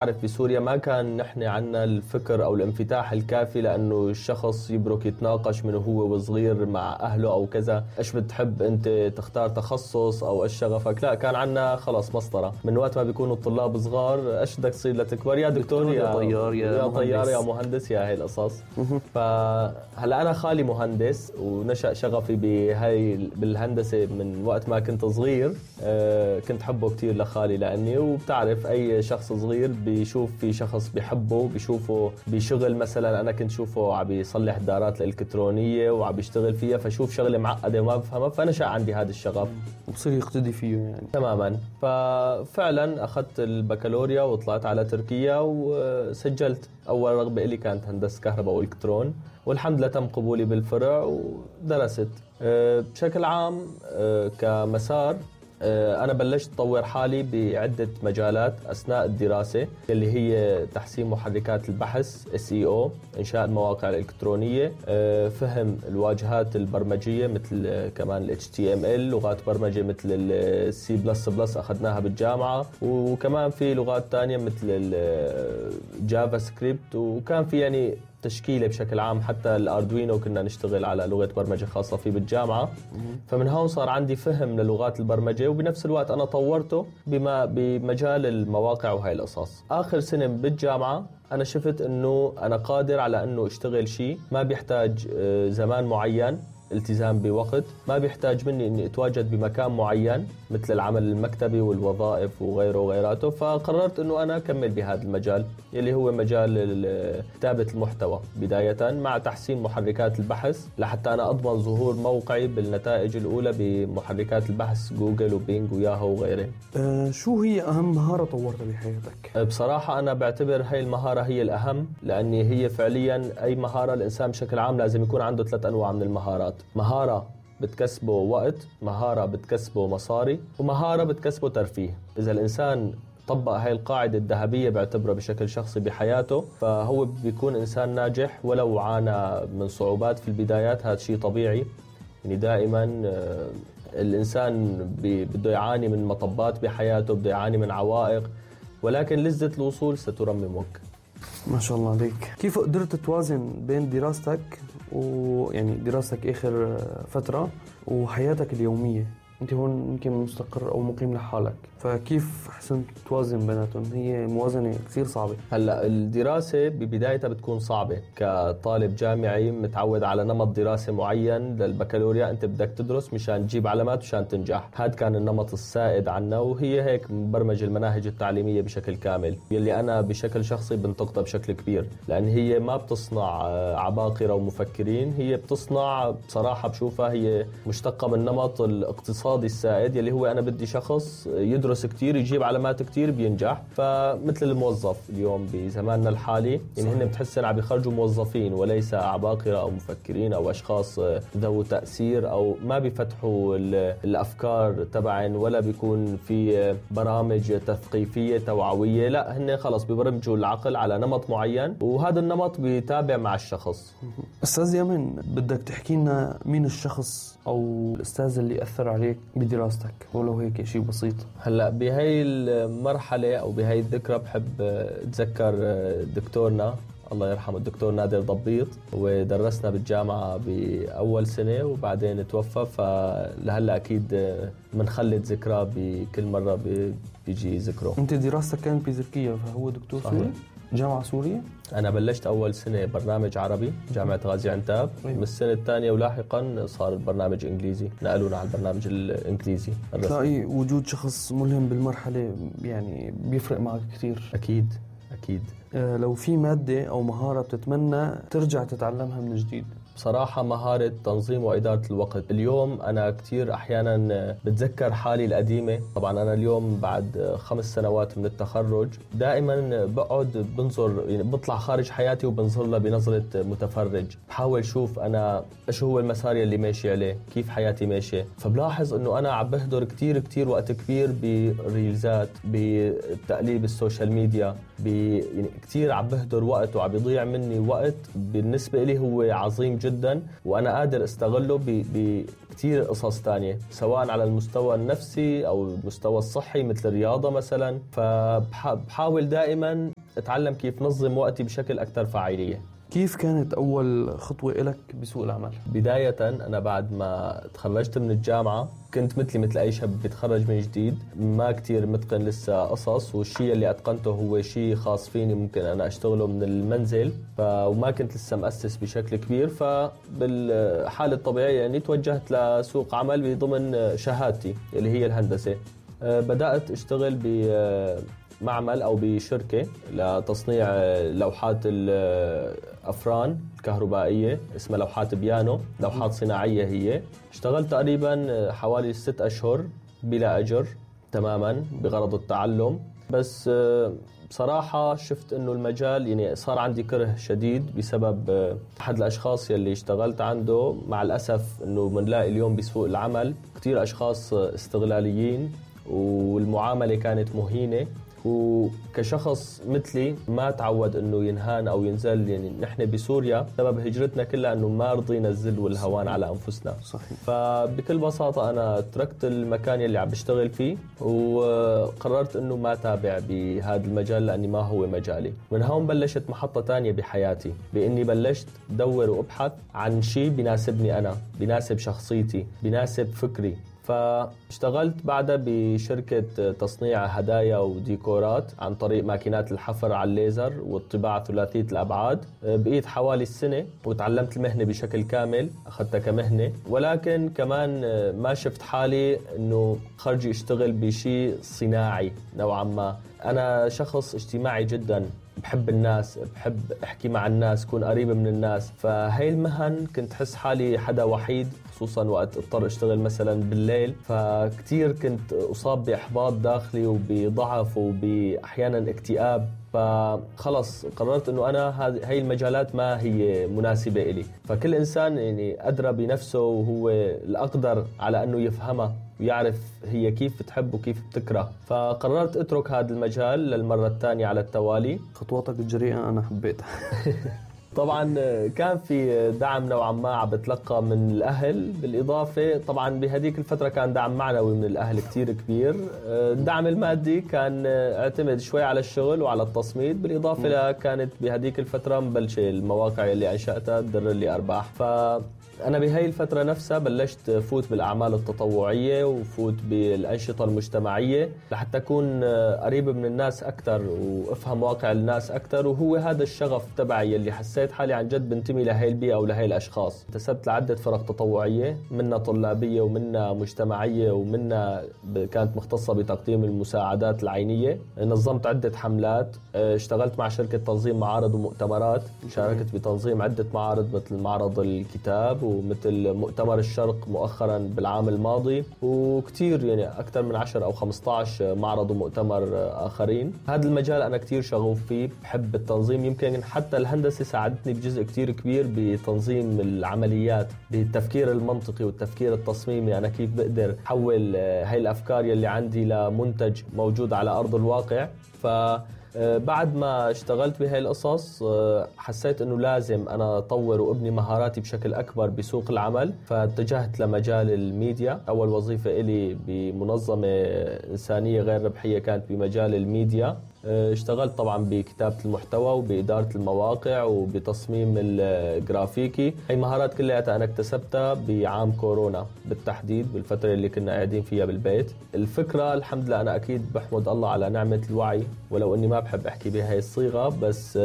عارف بسوريا ما كان نحن عنا الفكر أو الانفتاح الكافي لأنه الشخص يبرك يتناقش من هو وصغير مع أهله أو كذا، إيش بتحب أنت تختار تخصص أو إيش شغفك. لا، كان عنا خلص مسطرة من وقت ما بيكونوا الطلاب صغار، إيش بدك تصير لتكبر؟ يا دكتور يا طيار يا طيار يا مهندس يا هاي القصص. فهلا أنا خالي مهندس ونشأ شغفي بالهندسة من وقت ما كنت صغير. كنت حبه كتير لخالي لأني، وبتعرف أي شخص صغير بيشوف في شخص بيحبه، بيشوفه بشغل. مثلا أنا كنت شوفه عم بيصلح دارات الإلكترونية وعم بيشتغل فيها، فشوف شغلة معقدة وما بفهمها، فنشأ عندي هذا الشغف وبصير يقتدي فيه يعني. تماما. ففعلا أخذت البكالوريا وطلعت على تركيا وسجلت. أول رغبة إلي كانت هندسة كهرباء وإلكترون، والحمد لله تم قبولي بالفرع ودرست. بشكل عام كمسار أنا بلشت أطور حالي بعدة مجالات أثناء الدراسة، اللي هي تحسين محركات البحث SEO، إنشاء المواقع الإلكترونية، فهم الواجهات البرمجية مثل كمان HTML، لغات برمجة مثل C++ أخذناها بالجامعة، وكمان في لغات تانية مثل الجافا سكريبت، وكان في يعني تشكيلة بشكل عام. حتى الأردوينو كنا نشتغل على لغة برمجة خاصة فيه بالجامعة. فمن هون صار عندي فهم للغات البرمجة، وبنفس الوقت أنا طورته بمجال المواقع وهاي القصص. آخر سنة بالجامعة أنا شفت أنه أنا قادر على أنه أشتغل شيء ما بيحتاج زمان معين، التزام بوقت، ما بيحتاج مني اني اتواجد بمكان معين مثل العمل المكتبي والوظائف وغيره وغيراته. فقررت انه انا اكمل بهذا المجال اللي هو مجال كتابة المحتوى بداية، مع تحسين محركات البحث لحتى انا اضمن ظهور موقعي بالنتائج الاولى بمحركات البحث جوجل وبينج وياهو وغيره. شو هي اهم مهارة طورتها بحياتك؟ بصراحة انا بعتبر هاي المهارة هي الاهم، لاني هي فعليا اي مهارة الانسان بشكل عام لازم يكون عنده 3 أنواع من المهارات. مهارة بتكسبه وقت، مهارة بتكسبه مصاري، ومهارة بتكسبه ترفيه. إذا الإنسان طبق هاي القاعدة الذهبية بعتبره بشكل شخصي بحياته، فهو بيكون إنسان ناجح ولو عانى من صعوبات في البدايات. هذا شيء طبيعي، يعني دائما الإنسان بده يعاني من مطبات بحياته، بده يعاني من عوائق، ولكن لذة الوصول سترممك. ما شاء الله عليك. كيف قدرت توازن بين دراستك ويعني دراستك آخر فترة وحياتك اليومية؟ أنت هون يمكن مستقر أو مقيم لحالك، فكيف حسنت توازن بيناتهم؟ هي موازنة كثير صعبة. هلأ الدراسة ببدايتها بتكون صعبة. كطالب جامعي متعود على نمط دراسة معين للبكالوريا، أنت بدك تدرس مشان تجيب علامات مشان تنجح. هذا كان النمط السائد عنا، وهي هيك مبرمج المناهج التعليمية بشكل كامل، يلي أنا بشكل شخصي بنتقدها بشكل كبير، لأن هي ما بتصنع عباقرة ومفكرين، هي بتصنع بصراحة بشوفها هي مشتقة من نمط الاقتصادي السائد، يلي هو أنا بدي شخص يدرس كتير يجيب علامات كتير بينجح. فمثل الموظف اليوم بزماننا الحالي، يعني هن بتحسن عم يخرجوا موظفين وليس عباقرة أو مفكرين أو أشخاص ذو تأثير، أو ما بيفتحوا الأفكار تبعن، ولا بيكون في برامج تثقيفية توعوية. لا، هن خلص بيبرمجوا العقل على نمط معين، وهذا النمط بيتابع مع الشخص. أستاذ يمن، بدك تحكي لنا مين الشخص أو الأستاذ اللي أثر عليك بدراستك، ولو هيك شيء بسيط؟ هلأ بهاي المرحلة أو بهاي الذكرى بحب أتذكر دكتورنا الله يرحمه، الدكتور نادر ضبيط، ودرسنا بالجامعة بأول سنة وبعدين توفى. فلهلأ أكيد منخلد ذكرى بكل مرة بيجي ذكره. أنت دراستك كانت بتركيا، فهو دكتور سوري؟ جامعة سورية؟ أنا بلشت أول سنة برنامج عربي جامعة غازي عنتاب. من السنة الثانية ولاحقا صار البرنامج إنجليزي، نقلونا على البرنامج الإنجليزي. تلاقي وجود شخص ملهم بالمرحلة يعني بيفرق معك كثير. أكيد أكيد. لو في مادة أو مهارة بتتمنى ترجع تتعلمها من جديد؟ بصراحة مهارة تنظيم وإدارة الوقت. اليوم أنا كتير أحيانا بتذكر حالي القديمة. طبعا أنا اليوم بعد 5 سنوات من التخرج دائما بقعد بنظر، يعني بطلع خارج حياتي وبنظر لها بنظرة متفرج، بحاول شوف أنا إيش هو المسار اللي ماشي عليه، كيف حياتي ماشية. فبلاحظ أنه أنا عم بهدر كتير وقت كبير بريلزات، بتقليب السوشيال ميديا، يعني كتير عم بهدر وقت وعم بيضيع مني وقت بالنسبة لي هو عظيم جدا جدا وأنا قادر استغله بكتير قصص تانية، سواء على المستوى النفسي أو المستوى الصحي مثل الرياضة مثلا. فبحاول دائما أتعلم كيف نظم وقتي بشكل أكثر فاعلية. كيف كانت أول خطوة إلك بسوق العمل؟ بداية أنا بعد ما تخرجت من الجامعة كنت مثل أي شاب بيتخرج من جديد، ما كتير متقن لسه قصص، والشيء اللي أتقنته هو شيء خاص فيني ممكن أنا أشتغله من المنزل، وما كنت لسه مؤسس بشكل كبير. فبالحالة الطبيعية يعني توجهت لسوق عمل بضمن شهادتي اللي هي الهندسة. بدأت أشتغل معمل أو بشركة لتصنيع لوحات الأفران الكهربائية اسمها لوحات بيانو، لوحات صناعية هي. اشتغلت تقريبا حوالي 6 أشهر بلا أجر تماما بغرض التعلم. بس بصراحة شفت إنه المجال يعني صار عندي كره شديد بسبب أحد الأشخاص يلي اشتغلت عنده. مع الأسف إنه منلاقي اليوم بسوق العمل كتير أشخاص استغلاليين والمعاملة كانت مهينة، وكشخص مثلي ما تعود انه ينهان او ينزل. يعني نحن بسوريا سبب هجرتنا كلها انه ما رضينا الذل والهوان على انفسنا. صحيح. فبكل بساطة انا تركت المكان اللي عم بشتغل فيه وقررت انه ما تابع بهذا المجال لاني ما هو مجالي. من هون بلشت محطة تانية بحياتي، باني بلشت دور وابحث عن شيء بيناسبني انا، بيناسب شخصيتي، بيناسب فكري. فاشتغلت بعدها بشركة تصنيع هدايا وديكورات عن طريق ماكينات الحفر على الليزر والطباعة ثلاثية الأبعاد. بقيت حوالي السنة وتعلمت المهنة بشكل كامل، أخذتها كمهنة. ولكن كمان ما شفت حالي أنه خرجي اشتغل بشيء صناعي نوعا ما. أنا شخص اجتماعي جدا، بحب الناس، بحب احكي مع الناس، كون قريب من الناس. فهي المهن كنت حس حالي حدا وحيد، خصوصا وقت اضطر اشتغل مثلا بالليل. فكتير كنت اصاب باحباط داخلي وبضعف وباحيانا اكتئاب. فخلص قررت انه انا هاي المجالات ما هي مناسبة إلي. فكل انسان يعني ادرى بنفسه وهو الاقدر على انه يفهمها ويعرف هي كيف بتحب وكيف بتكره. فقررت اترك هذا المجال للمرة الثانية على التوالي. خطواتك الجريئة انا حبيتها. طبعا كان في دعم نوعا ما عم بتلقى من الأهل، بالإضافة طبعا بهديك الفترة كان دعم معنوي من الأهل كتير كبير. الدعم المادي كان اعتمد شوي على الشغل وعلى التصميد، بالإضافة كانت بهديك الفترة مبلشة المواقع اللي أنشأتها تدر لي أرباح. أنا بهاي الفترة نفسها بلشت فوت بالأعمال التطوعية وفوت بالأنشطة المجتمعية لحتى أكون قريب من الناس أكتر وأفهم واقع الناس أكتر. وهو هذا الشغف تبعي اللي حسيت حالي عن جد بنتمي لهاي البيئة ولهاي الأشخاص. انتسبت لعدة فرق تطوعية، منها طلابية ومنها مجتمعية ومنها كانت مختصة بتقديم المساعدات العينية. نظمت عدة حملات، اشتغلت مع شركة تنظيم معارض ومؤتمرات، شاركت بتنظيم عدة معارض مثل معرض الكتاب ومثل مؤتمر الشرق مؤخرا بالعام الماضي، وكتير يعني أكثر من 10 أو 15 معرض ومؤتمر آخرين. هذا المجال أنا كتير شغوف فيه، بحب التنظيم. يمكن حتى الهندسة ساعدتني بجزء كتير كبير بتنظيم العمليات، بالتفكير المنطقي والتفكير التصميمي. أنا كيف بقدر أحول هاي الأفكار يلي عندي لمنتج موجود على أرض الواقع. بعد ما اشتغلت بهاي القصص حسيت انه لازم انا اطور وابني مهاراتي بشكل اكبر بسوق العمل. فاتجهت لمجال الميديا. اول وظيفة الي بمنظمة انسانية غير ربحية كانت بمجال الميديا. اشتغلت طبعا بكتابة المحتوى وبإدارة المواقع وبتصميم الجرافيكي. هاي مهارات كلها أنا اكتسبتها بعام كورونا بالتحديد، بالفترة اللي كنا قاعدين فيها بالبيت. الفكرة الحمد لله أنا أكيد بحمد الله على نعمة الوعي، ولو أني ما بحب أحكي بهاي الصيغة، بس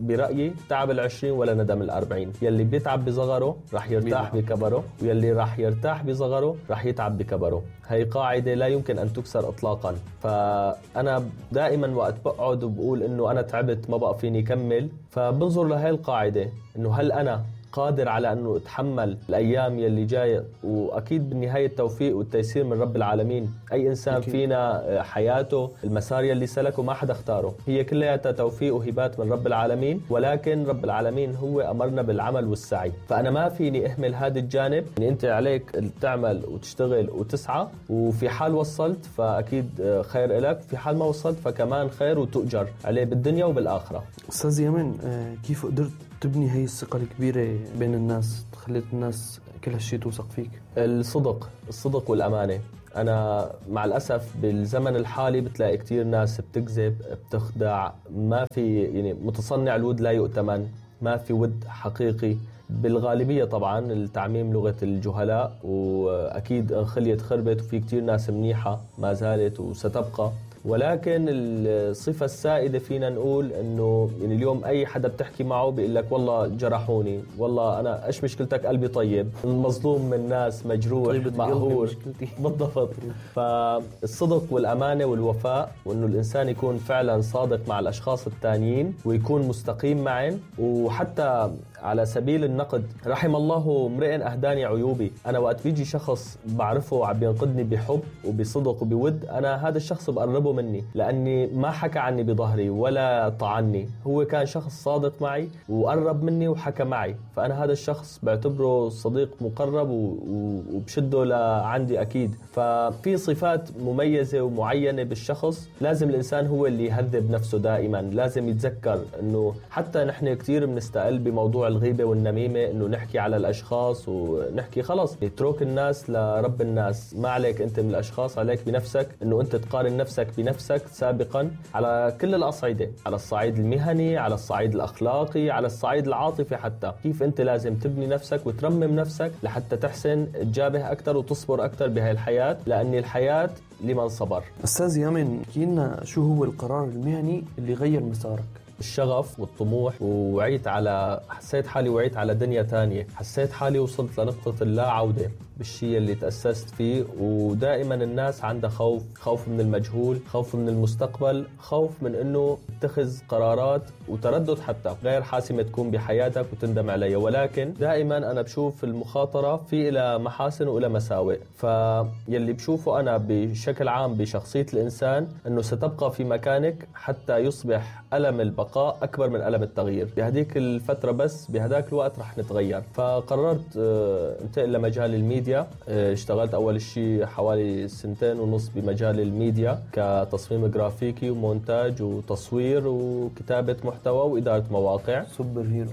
برأيي تعب 20 ولا ندم 40. يلي بيتعب بصغره رح يرتاح بكبره، ويلي رح يرتاح بصغره رح يتعب بكبره. هاي قاعدة لا يمكن أن تكسر إطلاقا. فأنا دائما وقت بقعد وبقول إنه أنا تعبت ما بقى فيني كمل، فبنظر لهاي القاعدة إنه هل أنا قادر على أنه أتحمل الأيام يلي جاية. وأكيد بالنهاية التوفيق والتيسير من رب العالمين. أي إنسان أكيد فينا حياته المسار يلي سلكه ما حدا اختاره، هي كلها توفيق وهبات من رب العالمين. ولكن رب العالمين هو أمرنا بالعمل والسعي. فأنا ما فيني أهمل هذا الجانب. يعني أنت عليك تعمل وتشتغل وتسعى، وفي حال وصلت فأكيد خير إلك، في حال ما وصلت فكمان خير وتؤجر عليه بالدنيا وبالآخرة. أستاذ يمن، كيف قدرت تبني هاي الثقة الكبيرة بين الناس، خليت الناس كل هالشي توثق فيك؟ الصدق والأمانة. أنا مع الأسف بالزمن الحالي بتلاقي كتير ناس بتكذب، بتخدع، ما في يعني متصنع الود لا يؤتمن، ما في ود حقيقي بالغالبية. طبعا التعميم لغة الجهلاء، وأكيد انخليت خربت، وفي كتير ناس منيحة ما زالت وستبقى. ولكن الصفة السائدة فينا نقول انه يعني اليوم اي حدا بتحكي معه بيقول لك والله جرحوني، والله انا ايش مشكلتك، قلبي طيب، مظلوم من ناس، مجروح، مقهور. بالضبط. فالصدق والامانة والوفاء، وانه الانسان يكون فعلا صادق مع الاشخاص التانيين ويكون مستقيم معهم. وحتى على سبيل النقد، رحم الله امرئ اهداني عيوبي. انا وقت بيجي شخص بعرفه عم بينقدني بحب وبصدق وبود، انا هذا الشخص بقربه مني، لاني ما حكى عني بظهري ولا طعني، هو كان شخص صادق معي وقرب مني وحكى معي، فانا هذا الشخص بعتبره صديق مقرب وبشده لعندي اكيد. ففي صفات مميزة ومعينة بالشخص لازم الانسان هو اللي يهذب نفسه دائما. لازم يتذكر انه حتى نحن كتير بنستقل بموضوع الغيبة والنميمة، انه نحكي على الاشخاص ونحكي خلص اترك الناس لرب الناس، ما عليك انت من الاشخاص، عليك بنفسك، انه انت تقارن نفسك بنفسك سابقا على كل الاصعدة، على الصعيد المهني، على الصعيد الاخلاقي، على الصعيد العاطفي حتى. كيف انت لازم تبني نفسك وترمم نفسك لحتى تحسن تجابه اكثر وتصبر اكثر بهاي الحياة، لان الحياة لمن صبر. استاذ يامن، احكي لنا شو هو القرار المهني اللي غير مسارك؟ الشغف والطموح، حسيت حالي وعيت على دنيا تانية، حسيت حالي وصلت لنقطة اللا عودة بالشيء اللي تأسست فيه. ودائما الناس عندها خوف من المجهول، خوف من المستقبل، خوف من انه تتخذ قرارات وتردد حتى غير حاسمة تكون بحياتك وتندم عليها. ولكن دائما انا بشوف المخاطرة في إلى محاسن وإلى مساوئ. فيلي بشوفه انا بشكل عام بشخصية الانسان انه ستبقى في مكانك حتى يصبح ألم البقاء أكبر من ألم التغيير. بهديك الفترة بس بهداك الوقت رح نتغير. فقررت انتقل لمجال الميديا. اشتغلت أول شيء حوالي 2.5 سنين بمجال الميديا كتصميم جرافيكي ومونتاج وتصوير وكتابة محتوى وإدارة مواقع. سوبر هيرو.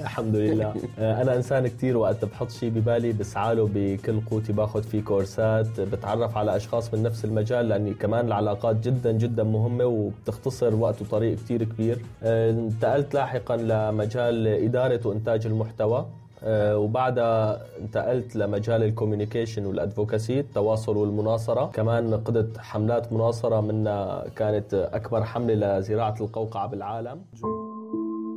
الحمد لله. أنا إنسان كتير وقت بحط شيء ببالي بسعاله بكل قوتي، باخد فيه كورسات، بتعرف على أشخاص من نفس المجال، لأني كمان العلاقات جدا جدا مهمة وبتختصر وقت وطريق كتير كبير. انتقلت لاحقا لمجال إدارة وإنتاج المحتوى، وبعدها انتقلت لمجال الكوميونيكيشن والادفوكاسي، التواصل والمناصرة. كمان قدت حملات مناصرة، منها كانت أكبر حملة لزراعة القوقعة بالعالم.